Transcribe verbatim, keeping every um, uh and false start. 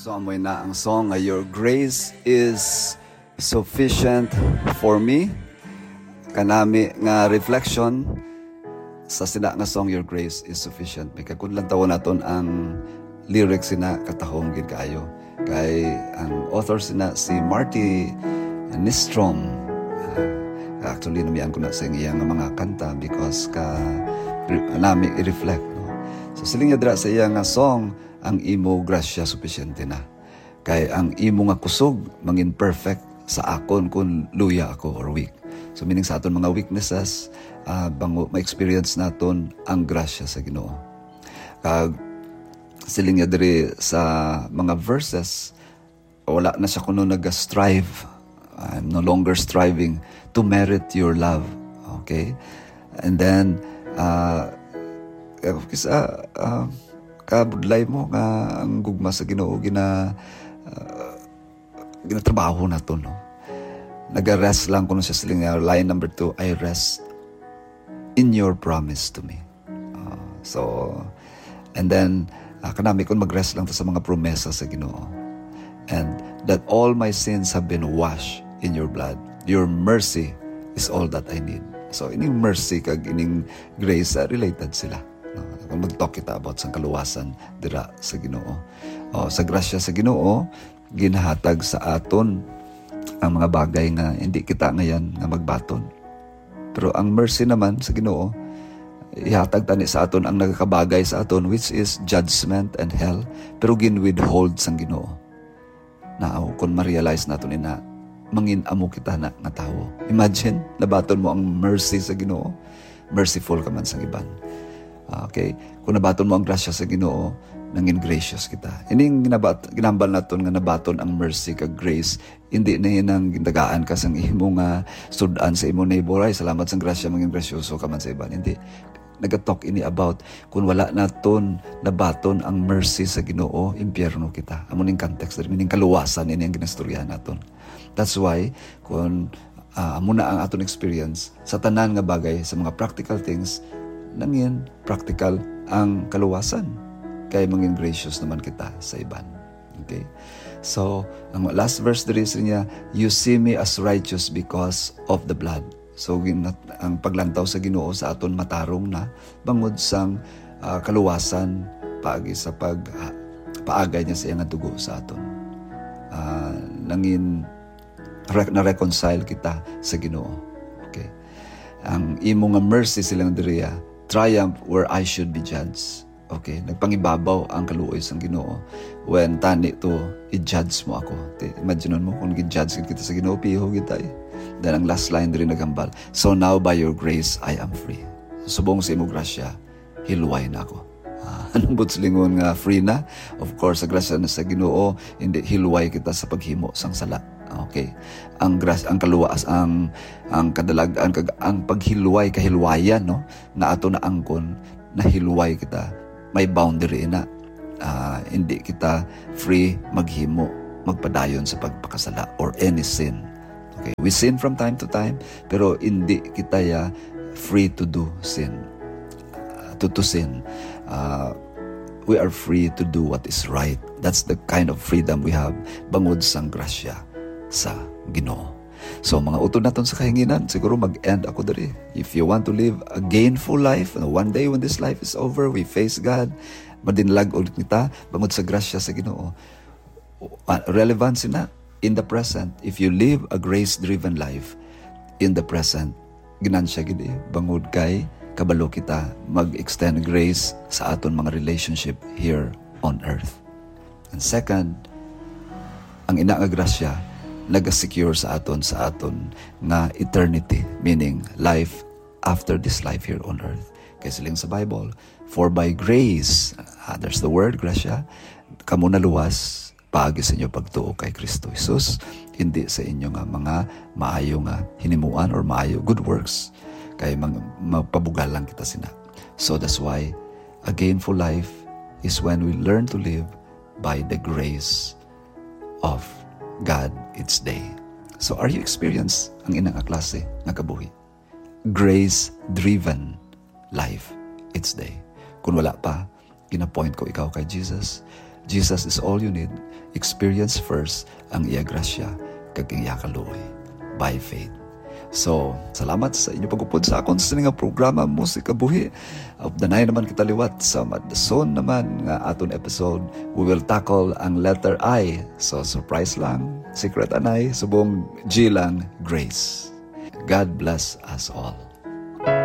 So, amoy na ang song nga Your Grace Is Sufficient For Me. Kanami nga reflection sa sina nga song, Your Grace Is Sufficient. May kakun lang tawon naton ang lyrics sina, katahom gid kaayo. Kay ang author sina si Marty Nystrom. Ah, actually, namian ko na sa iya nga mga kanta because ka nami i-reflect, no? So, siling niya dira sa iya nga song, "Ang imo grasya supisyente na. Kay ang imo nga kusog mangin perfect sa akon kon luya ako or weak." So, meaning sa aton mga weaknesses, ah, bango ma-experience naton ang grasya sa Ginoo. Kag siling niya diri sa mga verses, wala na siya kuno nag-strive. "I'm no longer striving to merit your love." Okay? And then, ah, eh, kisa, ah, kabudlay mo nga ang gugma sa Ginoo gina-, ah, ginatrabaho nato, no? Naga-rest lang kuno siya, siling niya, line number two, "I rest in your promise to me." Ah, so, and then, ah, kanami kon mag-rest lang ta sa mga promesa sa Ginoo. "And that all my sins have been washed in your blood. Your mercy is all that I need." So, ining mercy kag ining grace, ah, related sila, no? Kung mag-talk kita about sang kaluwasan dira sa Ginoo. O, sa grasya sa Ginoo, ginahatag sa aton ang mga bagay nga hindi kita ngayan nga magbaton. Pero ang mercy naman sa Ginoo, ihatag tani sa aton ang nagakabagay sa aton, which is judgment and hell, pero gin-withhold sang Ginoo. Now, kung ma-realize naton ina, mangin-amo kita na nga tawo. Imagine, nabaton mo ang mercy sa Ginoo, merciful ka man sa iban. Okay? Kung nabaton mo ang grasya sa Ginoo, nangin gracious kita. Ining ginabat-, ginambal naton nga nabaton ang mercy kag grace, hindi na yun ang gintagaan ka sang imo nga sud-an sa imo neighbor, "Ay, salamat sang grasya, mangin grasyoso ka man sa iban." Hindi. Nagatalk ini about kung wala naton nabaton ang mercy sa Ginoo, impyerno kita. Amo ning context, meaning kaluwasan ini ang ginastoryahan naton. That's why, kung, ah, amo na ang aton experience, sa tanan nga bagay, sa mga practical things, nangin practical ang kaluwasan. Kay mangin gracious naman kita sa iban. Okay? So, ang last verse diri sa niya, "You see me as righteous because of the blood." So, gin-, ang paglantaw sa Ginoo sa aton matarong na bangod sang, ah, kaluwasan paagi sa pag, ah, paagay niya sa iyang dugo sa aton. Ah, nangin re-, na-reconcile kita sa Ginoo. Okay. Ang imo nga mercy, siling diri, ah, "Triumph where I should be judged." Okay, nagpangibabaw ang kaluoy sang Ginoo when tani to i-judge mo ako. Ti-, imagine mo kung gi-judge gid kita sa Ginoo, piho gid tayo. Then ang last line diri naghambal, "So now by your grace I am free." Subong sa imo grasya, hilway na ako. Ah, anong buot silingon nga free na? Of course, sa grasya na sa Ginoo, hindi hilway kita sa paghimo sang sala. Okay. Ang gras-, ang kaluwas, ang, ang kadalag-an, kag ang paghilway, kahilwayan, no? Nga ato na angkon, nahilway kita. May boundary na. Ah, hindi kita free maghimo, magpadayon sa pagpakasala or any sin. Okay, we sin from time to time, pero hindi kita ya free to do sin. Ah, to, to sin. Ah, we are free to do what is right. That's the kind of freedom we have bangod sang grasya sa Ginoo. So, mga utod naton sa kahanginan, siguro mag-end ako diri. If you want to live a gainful life, ano, one day when this life is over, we face God, madinlag ulit kita bangod sa grasya sa Ginoo. Ah, relevance na in the present. If you live a grace-driven life in the present, ginansya gid, eh, bangod kay kabalo kita mag-extend grace sa aton mga relationship here on earth. And second, ang ina nga grasya naga-secure sa aton, sa aton nga eternity, meaning life after this life here on earth. Kay siling sa Bible, "For by grace," ah, there's the word, grasya, "kamo naluwas paagi sa inyo pagtuo kay Kristo Jesus, hindi sa inyo nga mga maayo nga hinimuan or maayo, good works, kay mag-, magpabugal lang kita sina." So that's why a gainful life is when we learn to live by the grace of God each day. So, are you experience ang ina nga klase nga kabuhi? Grace-driven life each day. Kung wala pa, ginapoint ko ikaw kay Jesus. Jesus is all you need. Experience first ang iya grasya kag ang iya kaluoy by faith. So, salamat sa inyo pag-upod sa akon sa nga programa, Musika Buhi. Updanay naman kita liwat sa madson naman nga aton episode. We will tackle ang letter I. So, surprise lang. Secret anay. Subong G lang, grace. God bless us all.